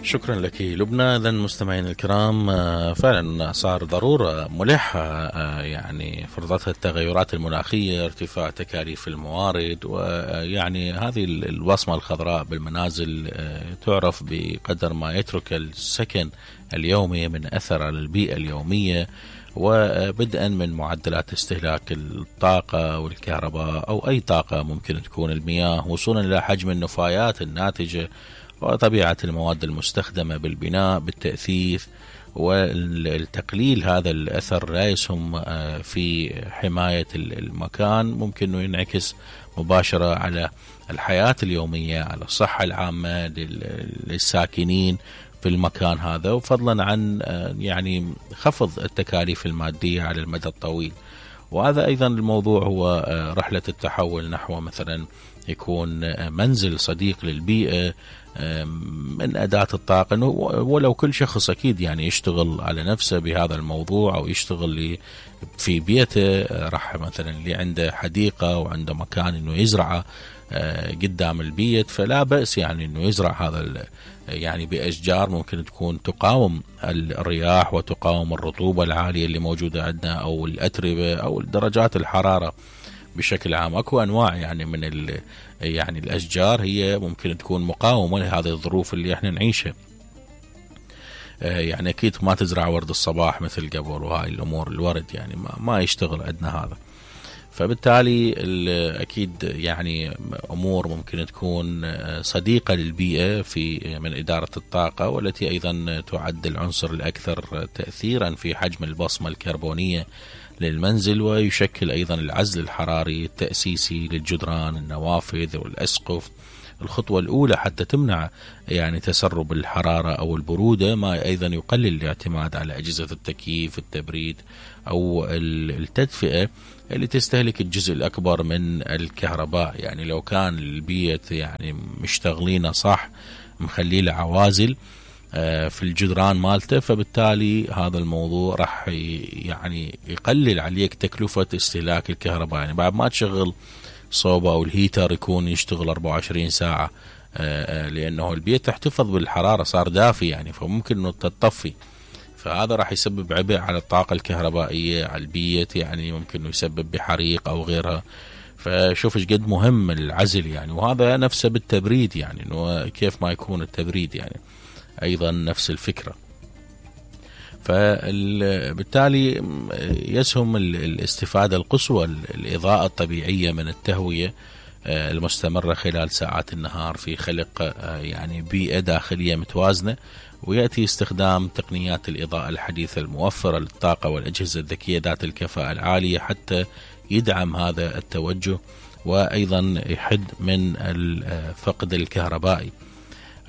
شكرا لك لبنى. إذن مستمعين الكرام، فعلا صار ضرورة ملحة يعني فرضتها التغيرات المناخية، ارتفاع تكاليف الموارد، ويعني هذه الوصمة الخضراء بالمنازل تعرف بقدر ما يترك السكن اليومي من أثر على البيئة اليومية، وبدءا من معدلات استهلاك الطاقة والكهرباء أو أي طاقة ممكن تكون، المياه، وصولا إلى حجم النفايات الناتجة وطبيعة المواد المستخدمة بالبناء بالتأثيث والتقليل. هذا الأثر لا يسهم في حماية المكان، ممكن أنه ينعكس مباشرة على الحياة اليومية، على الصحة العامة للساكنين في المكان هذا، وفضلا عن يعني خفض التكاليف المادية على المدى الطويل. وهذا أيضا الموضوع هو رحلة التحول نحو مثلا يكون منزل صديق للبيئة من أداة الطاقة، ولو كل شخص أكيد يعني يشتغل على نفسه بهذا الموضوع أو يشتغل في بيته، راح مثلا اللي عنده حديقة وعنده مكان إنه يزرعه قدام البيت، فلا بأس يعني إنه يزرع هذا يعني بأشجار ممكن تكون تقاوم الرياح وتقاوم الرطوبة العالية اللي موجودة عندنا أو الأتربة أو درجات الحرارة بشكل عام. أكو أنواع يعني من يعني الأشجار هي ممكن تكون مقاومة لهذه الظروف اللي احنا نعيشها. يعني أكيد ما تزرع ورد الصباح مثل قبل، وهاي الأمور الورد يعني ما يشتغل عندنا هذا. فبالتالي أكيد يعني أمور ممكن تكون صديقة للبيئة في من إدارة الطاقة، والتي أيضا تعد العنصر الأكثر تأثيرا في حجم البصمة الكربونية للمنزل، ويشكل أيضا العزل الحراري التأسيسي للجدران، النوافذ والأسقف. الخطوة الأولى حتى تمنع يعني تسرب الحرارة أو البرودة، ما أيضا يقلل الاعتماد على أجهزة التكييف، التبريد أو التدفئة اللي تستهلك الجزء الأكبر من الكهرباء. يعني لو كان البيت يعني مشتغلين صح، مخليه عوازل في الجدران مالته، فبالتالي هذا الموضوع راح يعني يقلل عليك تكلفة استهلاك الكهرباء. يعني بعد ما تشغل صوبة أو الهيتر يكون يشتغل 24 ساعة، لأنه البيت تحتفظ بالحرارة، صار دافي يعني، فممكن أنه تطفي، فهذا راح يسبب عبء على الطاقة الكهربائية على البيت، يعني ممكن أنه يسبب بحريق أو غيرها. فشوف ايش قد مهم العزل يعني. وهذا نفسه بالتبريد، يعني انه كيف ما يكون التبريد يعني ايضا نفس الفكرة. فبالتالي يسهم الاستفادة القصوى الإضاءة الطبيعية من التهوية المستمرة خلال ساعات النهار في خلق يعني بيئة داخلية متوازنة، ويأتي استخدام تقنيات الإضاءة الحديثة الموفرة للطاقة والأجهزة الذكية ذات الكفاءة العالية حتى يدعم هذا التوجه، وأيضا يحد من الفقد الكهربائي.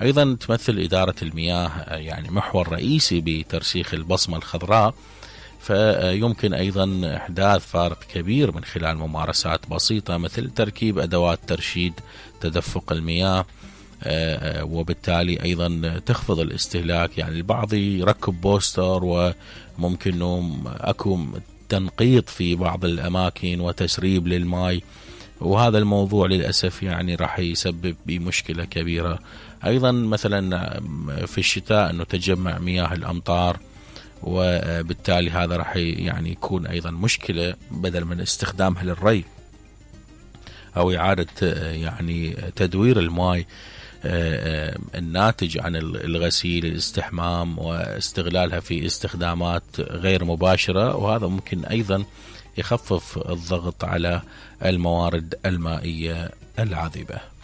أيضا تمثل إدارة المياه يعني محور رئيسي بترسيخ البصمة الخضراء، فيمكن أيضا إحداث فارق كبير من خلال ممارسات بسيطة مثل تركيب أدوات ترشيد تدفق المياه، وبالتالي أيضا تخفض الاستهلاك. يعني البعض يركب بوستر، وممكن أكو تنقيط في بعض الأماكن وتسريب للماء، وهذا الموضوع للأسف يعني راح يسبب بمشكلة كبيرة. أيضا مثلا في الشتاء أنه تجمع مياه الأمطار، وبالتالي هذا راح يعني يكون أيضا مشكلة بدل من استخدامها للري أو إعادة يعني تدوير الماء الناتج عن الغسيل، الاستحمام، واستغلالها في استخدامات غير مباشرة، وهذا ممكن أيضا يخفف الضغط على الموارد المائية العذبة.